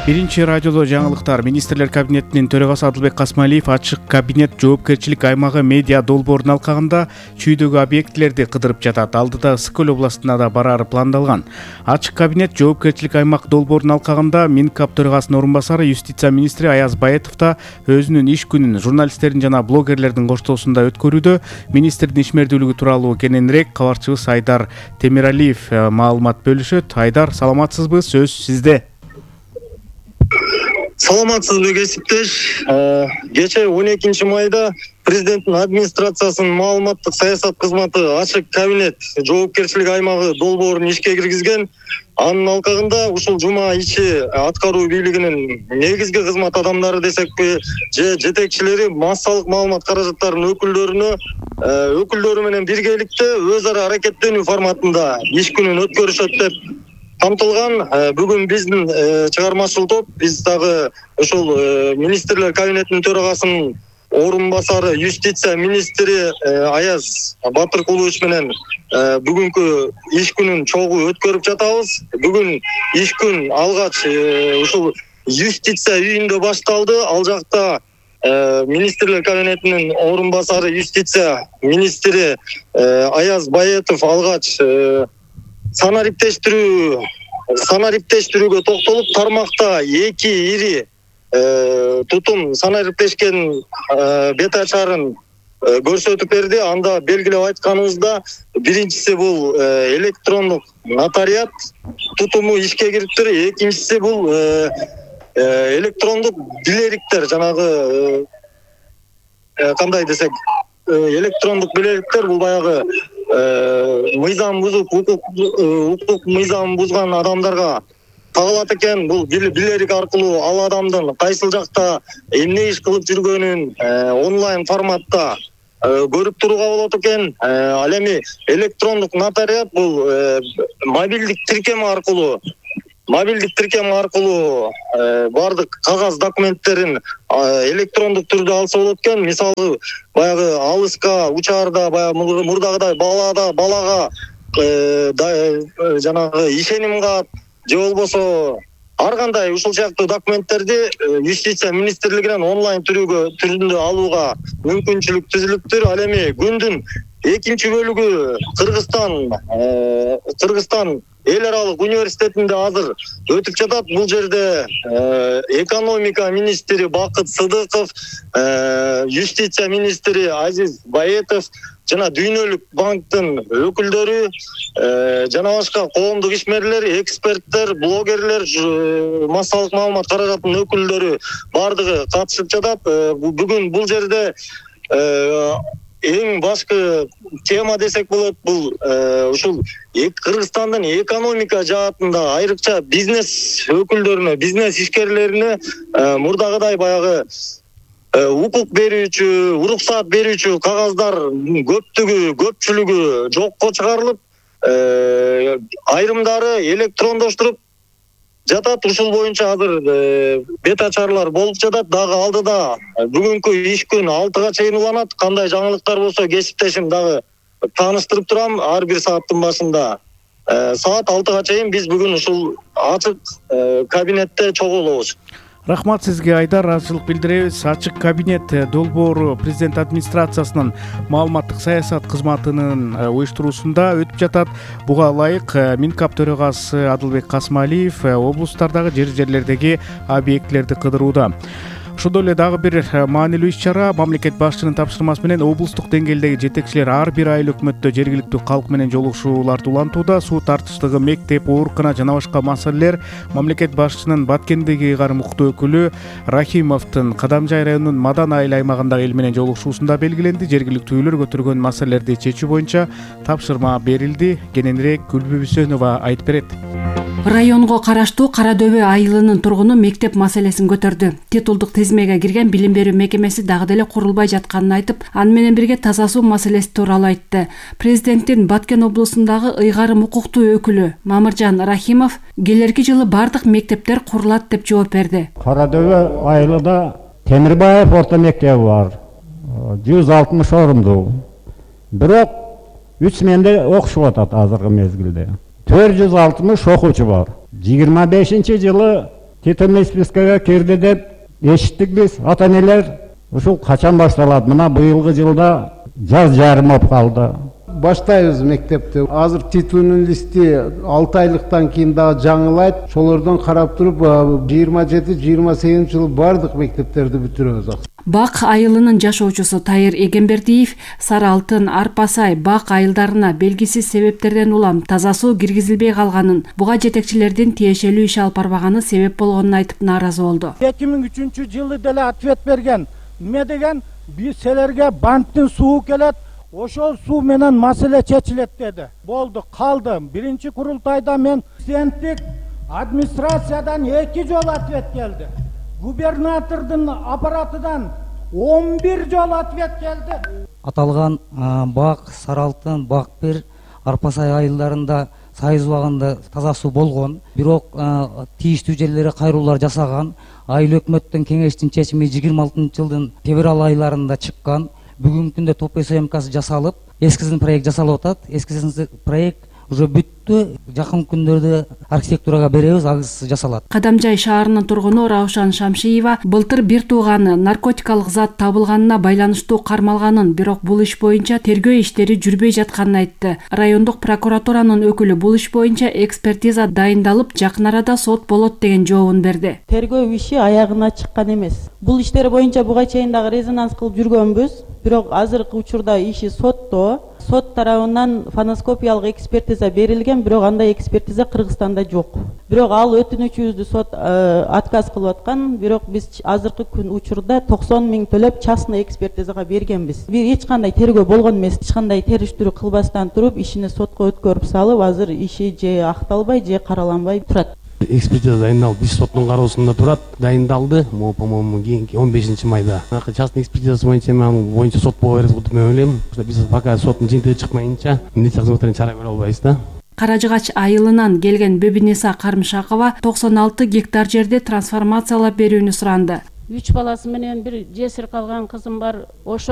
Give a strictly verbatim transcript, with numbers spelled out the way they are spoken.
Биринчи радиодо жаңылыктар. Министрлер кабинетинин төрагасы Адылбек Касмалиев ачык кабинет жоопкерчилик аймагы медиа долбоорун алкагында чүйдөгү объектилерди кыдырып жатат. Алдыда Ысык-Көл областына да барары пландалган. Ачык кабинет жоопкерчилик аймак долбоорун алкагында Минкап төрагасынын орун басары юстиция министри Аяз Баетов да өзүнүн иш күнүн журналисттердин жана блогерлердин коштоосунда өткөрүүдө. Министрдин ишмердүүлүгү тууралуу кененирээк кабарчыбыз Айдар Темиралиев маалымат бөлүшөт. Айдар, саламатсызбы? Сөз сизде. Саламатсызбы кесиптеш. Кечээ он экинчи майда президенттин администрациясынын маалыматтык саясат кызматы ачык кабинет жоопкерчилик аймагы долбоорун ишке киргизген. Анын алкагында ушул жума ичи аткаруу бийлигинин негизги кызмат адамдары десекпи, же жетекчилери массалык маалымат каражаттарынын өкүлдөрүнө өкүлдөрү менен биргеликте өз ара аракеттенүү форматында иш күнүн өткөрүшөт деп камтылган. Бүгүн биздин чыгармачыл топ, биз дагы ошол министрлер кабинетинин төрагасынын орун басары юстиция министри Аяз Батыркулович менен бүгүнкү иш күнүн чогуу өткөрүп жатабыз. Бүгүн иш күн алгач ушул юстиция үйүндө башталды. Ал жакта министрлер кабинетинин орун басары юстиция министри Аяз Баетов алгач санариптештирүү санариптештирүүгө токтолуп, тармакта эки ири тутум санариптешкен бет ачарын көрсөтүп берди. Анда белгилеп айтканыбызда, биринчиси бул электрондук нотариат тутуму ишке кириптир, экинчиси бул электрондук билериктер, жанагы кандай десек, электрондук билериктер бул баягы мыйзам бузуп, укук мыйзам бузган адамдарга тагылат экен. Бул билерик аркылуу ал адамдын кайсыл жакта эмне иш кылып жүргөнүн онлайн форматта көрүп турууга болот экен. Ал эми электрондук нотариат бул мобилдик тиркем аркылуу мобилдик тиркем аркылуу бардык кагаз документтерин электрондук түрдө алса болот экен. Мисалы, баягы алыска учаарда, баягы мурдагыдай балада балага жанагы ишеним кат, же болбосо ар кандай ушул сыяктуу документтерди юстиция министрлигинен онлайн түрүгө түрүндө алууга мүмкүнчүлүк түзүлүптүр. Ал эми күндүн экинчи бөлүгү Кыргызстан Кыргызстан эл аралык университетинде азыр өтүп жатат. Бул жерде экономика министри Бакыт Сыдыков, юстиция министри Азиз Баетов жана Дүйнөлүк банктын өкүлдөрү, жана башка коомдук ишмерлер, эксперттер, блогерлер, массалык маалымат каражатынын өкүлдөрү бардыгы катышып жатат. Бүгүн бул жерде эң башкы тема десек болот, бул ушул Кыргызстандын экономика жаатында айрыкча бизнес өкүлдөрүнө, бизнес ишкерлерине мурдагыдай баягы укук берүүчү, уруксаат берүүчү кагаздар көптүгү, көпчүлүгү жокко чыгарылып, айрымдары электрондоштуруп жатат. Ушул боюнча азыр бет ачарлар болуп жатат. Дагы алдыда бүгүнкү иш күн алтыга чейин уланат. Кандай жаңылыктар болсо кесиптешим дагы тааныштырып турам. Ар бир сааттын башында саат алтыга чейин биз бүгүн ушул ачык кабинетте чогуу болобуз. Рахмат сизге, Айдар. Ыраазычылык билдиребиз. Ачык кабинет долбоору президент администрациясынын маалыматтык саясат кызматынын уюштуруусунда өтүп жатат. Буга ылайык Минкап төрагасы Адылбек Касмалиев облустардагы жер жерлердеги объектилерди кыдырууда. Ошондой эле дагы бир маанилүү иш-чара. Мамлекет башчынын тапшырмасы менен облустук деңгээлдеги жетекчилер ар бир айыл өкмөттө жергиликтүү калк менен жолугушууларды улантууда. Суу тартыштыгы, мектеп, оорукана жана башка маселелер мамлекет башчынын Баткендеги ыйгарым укуктуу өкүлү Рахимовдун Кадамжай районунун Мадан айыл аймагындагы эл менен жолугушуусунда белгиленди. Жергиликтүүлөр көтөргөн маселелерди чечүү боюнча тапшырма берилди. Кененирээк Гүлбү Бүсөнова айтып берет. Районго караштуу Кара Дөбө айылынын тургуну мектеп маселесин көтөрдү. Титулдук тизмеге кирген билим берүү мекемеси дагы деле курулбай жатканын айтып, аны менен бирге таза суу маселеси тууралуу айтты. Президенттин Баткен облусундагы ыйгарым укуктуу өкүлү Мамыржан Рахимов келерки жылы бардык мектептер курулат деп жооп берди. Кара Дөбө айылында Темирбаев орто мектеби бар. жүз алтымыш орундуу. Бирок үч сменде окушуп атат азыркы мезгилде. төрт жүз алтымыш окуучу бар. жыйырма бешинчи жылы титульный спискага кирди деп эшиттик биз. Ата энелер ушул качан башталат? Мына быйылгы жылда жаз жарым болуп калды. Баштайбыз мектепти. Азыр титульный листи алты айлыктан кийин дагы жаңылайт. Ошолордон карап туруп жыйырма жети жыйырма сегизинчи жылы бардык мектептерди бүтүрөбүз. Бак айылынын жашоочусу Тайыр Эгембердиев Сары Алтын, Арпа Сай, Бак айылдарына белгисиз себептерден улам таза суу киргизилбей калганын, буга жетекчилердин тиешелүү иш алып барбаганы себеп болгонун айтып нааразы болду. эки миң үчүнчү жылы деле ответ берген. Эмне деген? Биз силерге банктын суу келет, ошол суу менен маселе чечилет деди. Болду, калды. Биринчи курултайда мен президенттик администрациядан эки жолу ответ келди. Губернатордун аппаратынан он бир жолу ответ келди. Аталган Бак, Сары Алтын, Бак бир, Арпа Сай айылдарында сайыз убагында таза суу болгон. Бирок тийиштүү жерлери кайруулар жасаган. Айыл өкмөттүн кеңештин чечими жыйырма алтынчы жылдын февраль айларында чыккан. Бүгүнкү күндө топ съемкасы жасалып, эскизин проект жасалып атат. Эскизин проект уже бүттү. Жакын күндөрдө архитектурага беребиз, агысы жасалат. Кадамжай шаарынын тургуну Раушан Шамшиева былтыр бир тууганы наркотикалык зат табылганына байланыштуу кармалганын, бирок бул иш боюнча тергөө иштери жүрбөй жатканын айтты. Райондук прокуратуранын өкүлү бул иш боюнча экспертиза дайындалып, жакын арада сот болот деген жообун берди. Тергөө иши аягына чыккан эмес. Бул иштер боюнча буга чейин дагы резонанс кылып жүргөнбүз, бирок азыркы учурда иши сотто. Сот тарабынан фоноскопиялык экспертиза берилген, бирок андай экспертиза Кыргызстанда жок. Бирок ал өтүнүчүбүздү сот отказ кылып аткан, бирок биз азыркы күн учурда токсон миң төлөп частный экспертизага бергенбиз. Бир эч кандай тергөө болгон эмес, эч кандай териштирүү кылбастан туруп, ишини сотко өткөрүп салып, азыр иши же акталбай, же караланбай турат. Экспертиза дайындалып, биз соттун кароосунда турат, дайындалды. Могу, по-моему, кийинки он бешинчи майда. Акы частный экспертизасы боюнча мен боюнча сот боло берет деп ойлойм. Биз пока соттун жыйынтыгы чыкмайынча милиция кызматынан чара көрө албайбыз да. Каражыгач айылынан келген Бөбүниса Кармышакова токсон алты гектар жерди трансформациялап берүүнү суранды. Үч баласы менен бир жесир калган кызым бар. Ошо